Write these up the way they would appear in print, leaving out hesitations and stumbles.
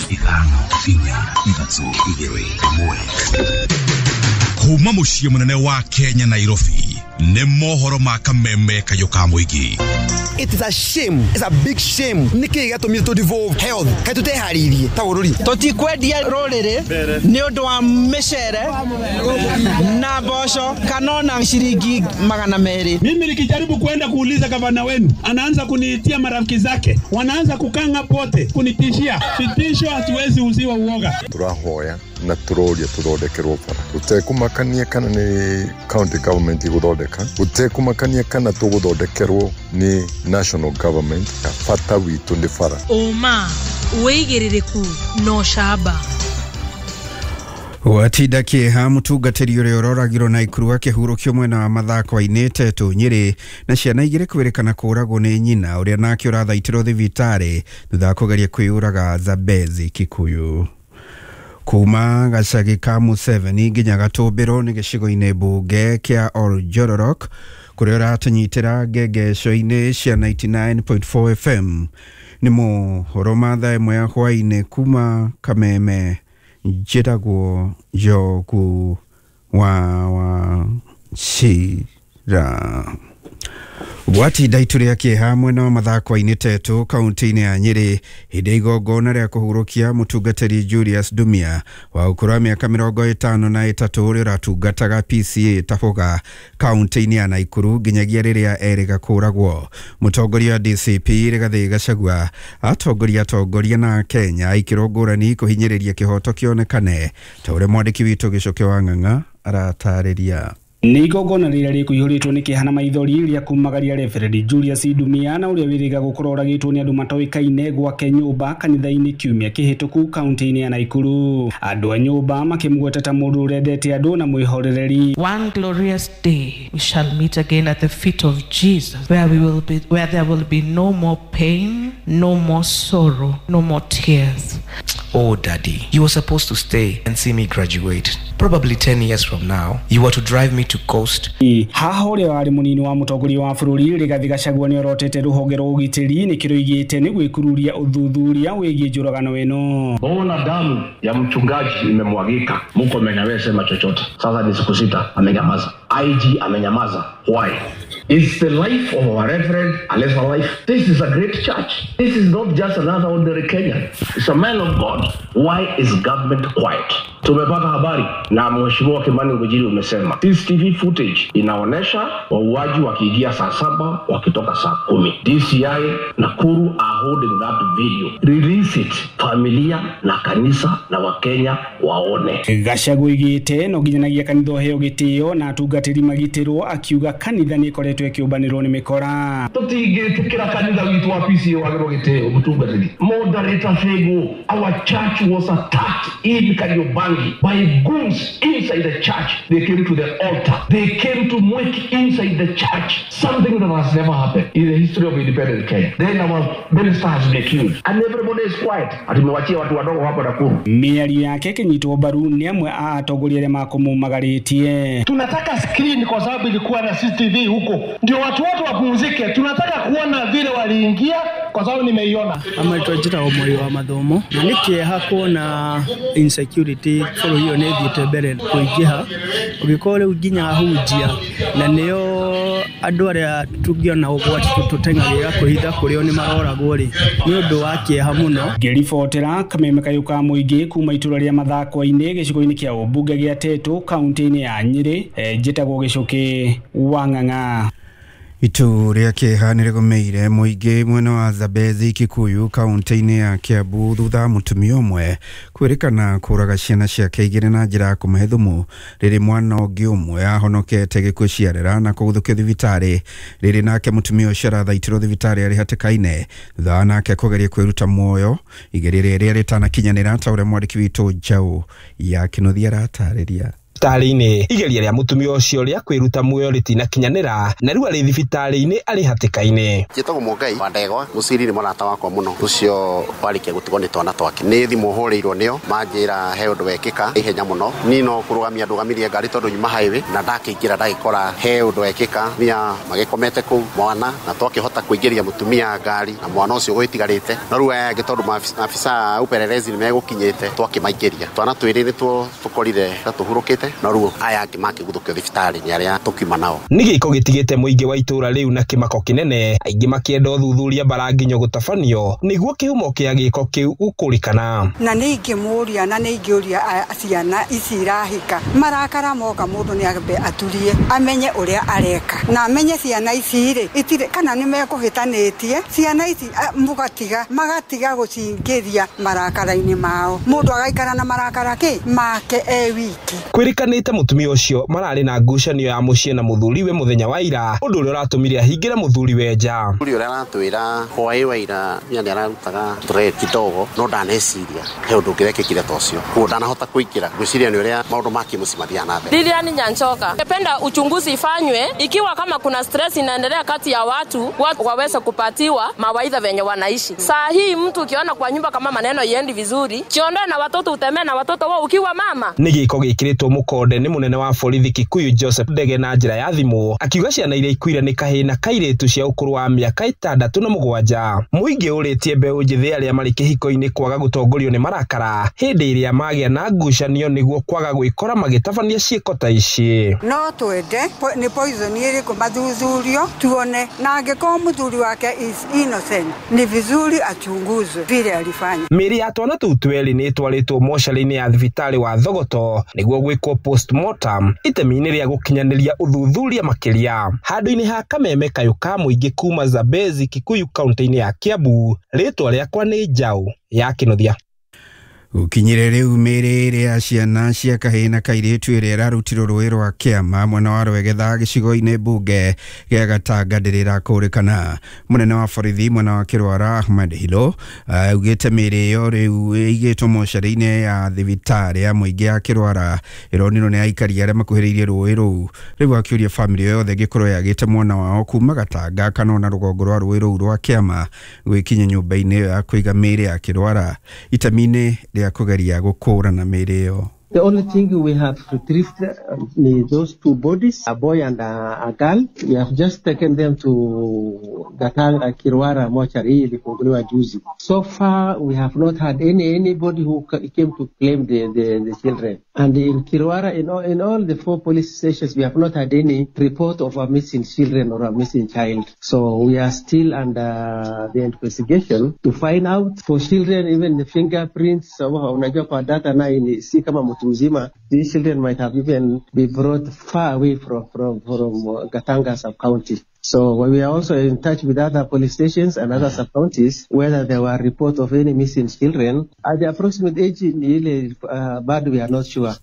5 4 3 2 1. Kuma muciĩ mũnene wa Kenya Nairobi nĩ mohoro ma kameme kayũ ka mũingĩ. It is a shame. It's a big shame. Nĩkĩ gĩatũmire tũ devolve health? Kaĩ tũteharĩirie ta bũrũri? Tũtikwendia rũrĩrĩ nĩ ũndũ wa mĩcere na mboco kana ona shilingi 200. Mimi nikijaribu kwenda kuuliza gavana wenu, anaanza kuniitia marafiki zake, wanaanza kukanga pote kunitishia. Vitisho hatuwezi uziwa uoga. Turahoya na turoria tuthondekerwo bara. Gũtekumakania kana nĩ county government iguthondeka, gũtekumakania kana tuguthondekerwo nĩ national government, bata witũ nĩ bara. Ũma, wĩigĩrĩrĩku na ũcamba. Gwatinda kĩeha mũtungatĩri ũrĩa ũroragirwo na ikuru akĩhurũkio mwena wa Mathakwa-inĩ Tetu Nyĩrĩ na ciana igĩrĩ kwĩrĩkana kũragwo nĩ nyina ũrĩa nake ũrathaitirwo thibitarĩ thutha wa kũgeria kwĩyũraga Zambezi Kikuyu. Kuma gacagi ka Museveni nginya Gatũmbĩrwo nĩ gĩcigo-inĩ mbunge kĩa Oljororok kũrĩa ũratũnyitĩra ngengeco-inĩ cia 99.4 FM. Nĩ mohoro ma thaa ĩmwe ya hwaĩ-inĩ kuma Kameme. Njĩtagwo Njogu wa Wachira. Gwatinda itu rĩa kĩeha mwena wa Mathakwa-inĩ Tetu kaunti-inĩ ya Nyĩrĩ hĩndĩ ya igongona rĩa kũhurũkia mũtungatĩri Julius Dumia wa ũkũrũ wa mĩaka 53 ũrĩa ũratungataga PCA Taboga kaunti-inĩ ya Naikuru nginyagia rĩrĩa erĩga kũragwo. Mũtongoria wa DCP Rigathĩ Gachagua atongoria atongoria na Kenya ikĩro ngũrani kũhinyĩrĩria kĩhoto kĩonekane ta ũrĩa mwandĩki witũ Gĩcoke wa Ng'ang'a aratarĩria. Nĩ igongona rĩrĩa rĩkũihũrĩtwo nĩ kĩeha na maithori rĩa kumagaria Reverend Julius Dumia na ũrĩa wĩrĩga gũkorwo oragĩtwo nĩ andũ matoĩkaine gwake nyũmba kanitha-inĩ kiumia kĩhĩtũku kaunti-inĩ ya Naikuru. Andũ a nyũmba makĩmũgweta ta mũndũ ũrendete andũ na mwĩhorereri. One glorious day we shall meet again at the feet of Jesus, where we will be, where there will be no more pain, no more sorrow, no more tears. Oh, Daddy, you were supposed to stay and see me graduate. Probably 10 years from now, you were to drive me to coast. Haha ũrĩa warĩ mũnini wa mũtongoria wa bũrũri Rigathĩ Gachagua nĩ orotete rũhonge rwa ũgitĩri nĩ kĩroigĩte nĩ gwĩkururia ũthuthuria wĩgiĩ njũragano ĩno. Bona damu ya mchungaji imemwagika, Murkomen hawezi sema chochote. Sasa ni siku 6 amenyamaza. IG amenyamaza. Why? It's the life of our reverend, a lesser life. This is a great church. This is not just another ordinary Kenyan. It's a man of God. Why is government quiet? Tumepata habari na Mheshimiwa Kimani Ngunjiri umesema CCTV footage inaonesha wauaji wakiingia saa 7 wakitoka saa 10. DCI Nakuru are holding that video. Release it. Familia na kanisa na Wakenya waone. Gachagua oigĩte no nginyanagia kanitha ũheo gĩtĩo na atungatĩri magitĩrwo, akiuga kanitha nĩ ĩkoretwo ĩkĩũmbanĩrwo nĩ mĩkora. Tũtingĩtĩkĩra kanitha witũ wa PCA wagĩrwo gĩtĩo mũtungatĩri. Moderator Sego, our church was attacked in Kariobangi by goons inside the church. They came to the altar. They came to work inside the church. Something that has never happened in the history of independent Kenya. Then our minister has been killed. And everybody is quiet. Atumewachia watu wadogo hapa Nakuru. Mĩario yake ĩkĩnyitwo mbaru nĩ amwe a atongoria arĩa makũmũmagarĩtie. Tunataka screen kwa sababu ilikuwa na CCTV huko, ndio watu wote wapumzike. Tunataka kuona vile waliingia kwa sababu nimeiona. Amaitwa njĩtagwo Moi wa Mathomo na nĩ kĩeha kuona insecurity bũrũri ũyũ nĩ ĩthiĩte mbere kũingĩha, ũgĩkorwo rĩu nginya ahunjia na nĩo andũ arĩa tũngĩona ũgwati tũteng'agĩra kwĩhitha kũrĩo nĩ maroragwo rĩ, nĩ ũndũ wa kĩeha mũno. Ngĩribotera kameme kayũ ka mũingĩ kuma itũra rĩa Mathakwa-inĩ gĩcigo-inĩ kĩa ũmbunge gĩa Tetu kaunti-inĩ ya Nyĩrĩ, njĩtagwo Gĩcũkĩ wa Ng'ang'a. Itu rĩa kĩeha nĩ rĩgũmĩire mũingĩ mwena wa Zambezi Kikuyu kaunti-inĩ ya Kiambu thutha wa mũtumia ũmwe kwĩrĩkana kũraga ciana ciake igĩrĩ na njĩra ya kũmahe thumu rĩrĩ mwana ũngĩ ũmwe ahonokete gĩkuũ ciarera na kũguthũkio thibitarĩ. Rĩrĩ nake mũtumia ũcio arathaitirwo thibitarĩ arĩ hatĩka-inĩ thutha wa nake kũgeria kwĩruta muoyo igerio rĩrĩa rĩtanakinyanĩra ta ũrĩa mwandĩki witũ Njaũ ya Kĩnuthia aratarĩria. thibitarĩ-inĩ. Igeria rĩa mũtumia ũcio rĩa kwĩruta muoyo rĩtinakinyanĩra na rĩu arĩ thibitarĩ-inĩ arĩ hatĩka-inĩ. Njĩtagwo Mũngai wa Ndegwa, Mũciri nĩ mũrata wakwa mũno, ũcio warĩkia gũtigwo nĩ twana twake. Nĩ thimũ hũrĩirwo nĩo manjĩra he ũndũ wekĩka ihenya mũno. Niĩ no kũrũgamia ndũgamirie ngari tondũ nyuma highway na ndakĩingĩra ndagĩkora he ũndũ wekĩka, mia magĩkomete kũu mwana na twakĩhota kũingĩria mũtumia ngari na mwana ũcio gwĩtigarĩte, no rĩu aya angĩ tondũ maafisa upelelezi nĩmegũkinyĩte twakĩmaingĩria. Twana twĩrĩ nĩtuo tũkorire ta tũhurũkĩte, no rĩu aya angĩ makĩguthũkio thibitarĩ nĩ arĩa tũkiuma nao. Nĩ gĩko gĩtigĩte mũingĩ wa itũra rĩu na kĩmako kĩnene, aingĩ makĩenda ũthuthuria mbaranginyo gũtabanio nĩguo kĩhumo kĩa gĩko kĩu gũkũrĩkana. Na nĩ ingĩmũria na nĩ ingĩũria ciana ici irahika marakara moka mũndũ nĩ ambe aturie amenye ũrĩa areka na amenye ciana ici rĩ itirĩ kana nĩ mekũhĩtanĩtie ciana ici mũgatiga magatiga gũcingĩria marakara-inĩ mao, mũndũ agaikara na marakara kĩ make e wiki. Kwĩrĩkanĩte mũtumia ũcio mararĩ na ngucanio ya mũciĩ na mũthuriwe mũthenya wa ira, ũndũ ũrĩa ũratũmire ahingĩre mũthuriwe nja. Mũthuri ũrĩa aratwĩra hwaĩ wa ira mia nĩ ararutaga threat kidogo, no ndaneciria he ũndũ ũngĩrekĩkire ta ũcio, koguo ndanahota kũingĩra, ngwĩciria nĩ ũrĩa maũndũ ma kĩmũciĩ mathiaga na mbere. Lilian Nyanchoka, ningependa uchunguzi ifanywe ikiwa kama kuna stress inaendelea kati ya watu, watu waweze kupatiwa mawaidha venye wanaishi. Saa hii mtu ukiona kwa nyumba kama maneno yendi vizuri, jiondoe na watoto, utemee na watoto wao ukiwa mama. Nĩ gĩko gĩkĩrĩtwo mũkonde nĩ mũnene wa borithi Kikuyu Joseph Ndege na njĩra ya thimũ akiuga ciana iria ikuire nĩ kahĩĩ na kairĩtu cia ũkũrũ wa mĩaka 6 na 7. Mũingĩ ũrĩtie mbeũ njĩthĩ arĩa marĩ kĩhiko-inĩ kwaga gũtongorio nĩ marakara hĩndĩ ĩrĩa magĩa na ngucanio nĩguo kwaga gwĩkora magĩtabania ciĩko ta ici. No twende nĩ poison ĩrĩkũ mathuthurio tuone, na angĩkorwo mũthuri wake is innocent ni vizuri achunguzwe vile alifanya. Mĩĩrĩ ya twana tũu twerĩ nĩ ĩtwarĩtwo mocarĩ-inĩ ya thibitarĩ wa Thogoto nĩguo gwĩkwo postmortem itemi-inĩ rĩa gũkinyanĩria ũthuthuria makĩria. Handũ-inĩ ha kameme kayũ ka mũingĩ kuma Zambezi Kikuyu kaunti-inĩ ya Kiambu, rĩtwa rĩakwa nĩ Njaũ ya Kĩnuthia. Gũkinyire rĩu mĩĩrĩ ĩrĩ ya ciana cia kahĩĩ na kairĩtu ĩrĩa ĩrarutirwo rũĩ rwa Kĩama mwena wa Rwegetha gĩcigo-inĩ mbunge gĩa Gatanga ndĩrĩ ĩrakũrĩkana. Mũnene wa borithi mwena wa Kĩrwara Ahmed Hilo augĩte mĩĩrĩ ĩyo rĩu ĩigĩtwo mocarĩ-inĩ ya thibitarĩ ya mũingĩ ya Kĩrwara ĩronirwo nĩ aikari arĩa makuhĩrĩirie rũĩ rũu. Rĩu akĩũria bamĩrĩ yothe ĩngĩkorwo yagĩte mwana wao kuma Gatanga kana ona rũgongo rwa rũĩ rũu rwa Kĩama gwĩkinya nyũmba-inĩ ĩyo ya kũiga mĩĩrĩ ya Kĩrwara itemi-inĩ rĩa kũgeria gũkũrana mĩĩrĩ ĩyo. The only thing we have retrieved is those two bodies, a boy and a girl. We have just taken them to Gatanga Kirwara mortuary ilifunguliwa juzi. So far we have not had anybody who came to claim the children. And in Kirwara, in all the 4 police stations, we have not had any report of a missing children or a missing child. So we are still under the investigation to find out for children, even the fingerprints. Unajua kwa data na si kama mzima, these children might have even be brought far away from Gatanga sub-county. So we are also in touch with other police stations and other sub-counties whether there were reports of any missing children. At the approximate age, but we are not sure.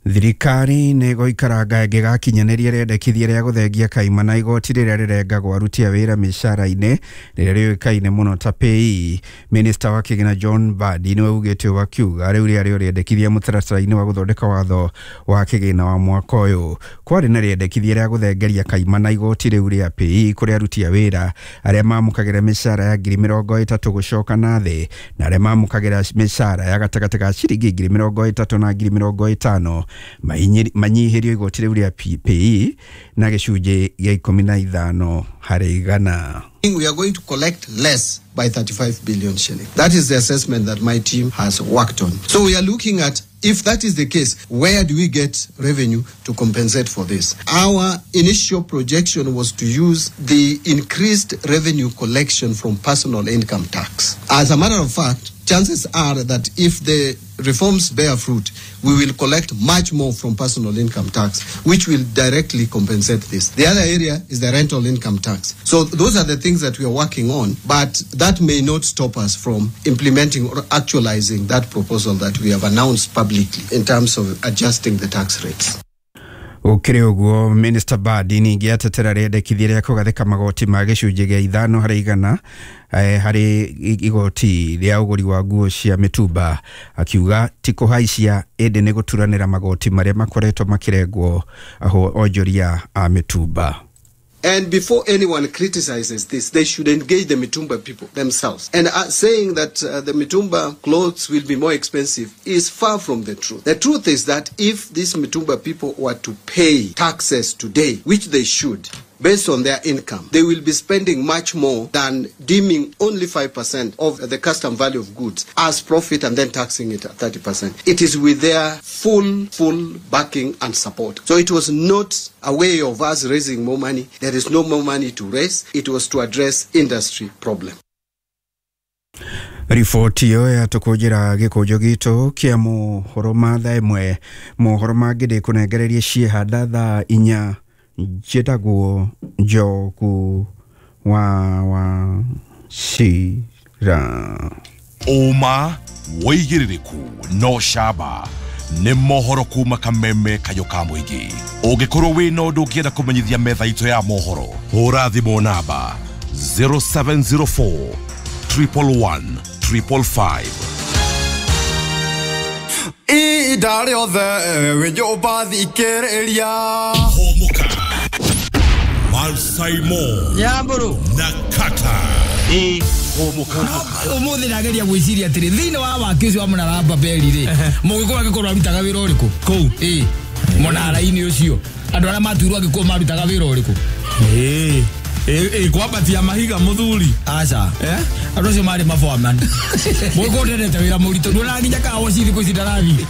Thirikari nĩ ĩgũikaranga ĩngĩgakinyanĩria rĩendekithia rĩa gũthengia kaima na igoti rĩrĩa rĩrengagwo aruti a wĩra mĩcara-inĩ rĩrĩa rĩũĩkaine mũno ta PAYE. Minista wa kĩgĩna John Mbadi nĩwe ugĩte ũũ akiuga rĩu rĩarĩ rĩendekithia mũtaratara-inĩ wa gũthondeka watho wa kĩgĩna wa mwaka ũyũ. Kwarĩ na rĩendekithia rĩa gũthengeria kaima na igoti rĩu rĩa PAYE kũrĩ aruti a wĩra arĩa mamũkagĩra mĩcara ya 30,000 gũcoka na thĩ na arĩa mamũkagĩra mĩcara ya gatagatĩ ka ciringi 30,000 na 50,000 manyihĩrio igoti rĩu rĩa PAYE na gĩcunjĩ gĩa 15 harĩ igana. We are going to collect less by 35 billion shillings. That is the assessment that my team has worked on. So we are looking at, if that is the case, where do we get revenue to compensate for this? Our initial projection was to use the increased revenue collection from personal income tax. As a matter of fact, chances are that if the reforms bear fruit, we will collect much more from personal income tax, which will directly compensate this. The other area is the rental income tax. So those are the things that we are working on, but that may not stop us from implementing or actualizing that proposal that we have announced publicly in terms of adjusting the tax rates. Gũkĩrĩ ũguo, Minister Mbadi ningĩ atetera rĩendekithia rĩa kũgathĩka magoti ma 5% harĩ igoti rĩa ũgũri wa nguo cia mĩtumba, akiuga ti kũhaicia ĩndĩ nĩ gũturanĩra magoti marĩa makoretwo makĩrengwo onjoria a mĩtumba. And before anyone criticizes this, they should engage the Mitumba people themselves. And saying that the Mitumba clothes will be more expensive is far from the truth. The truth is that if these Mitumba people were to pay taxes today, which they should, based on their income, they will be spending much more than deeming only 5% of the custom value of goods as profit and then taxing it at 30%. It is with their full backing and support. So it was not a way of us raising more money. There is no more money to raise. It was to address industry problem. Riboti ĩyo yatũkũnjĩra gĩkũnjo gitũ kĩa mohoro ma thaa 1. Mohoro mangĩ ndĩkũnengererie ciĩhanda thaa 4. Njĩtagwo Njogu wa Wachira. Ũma wĩigĩrĩrĩku no camba nĩ mohoro kuma kameme kayo ka mũingĩ. Ũngĩkorwo wĩna ũndũ ũngĩenda kũmenyithia metha itũ ya mohoro, hũra thimũ namba 0704 111 555. Ihinda rĩothe wĩ nyũmba thikĩrĩria. Hũmũka Malsaimo Nyamburu na Kata. Hũmũka. Ũmũthĩ ndageria gwĩciria atĩrĩ, thĩinĩ wa waki ũcio wa mũnara wa Babeli rĩ, mũgĩkũyũ angĩkorwo arutaga wĩra ũrĩkũ kũu? Mũnara-inĩ ũcio andũ arĩa matuirwo angĩkorwo marutaga wĩra ũrĩkũ? Kwambatia mahiga mũthuri. Aca, andũ acio marĩ maboaman. Mũgĩkũyũ ndendete wĩra mũritũ, nduonaga nginya kawoci thikũ ici ndarathiĩ.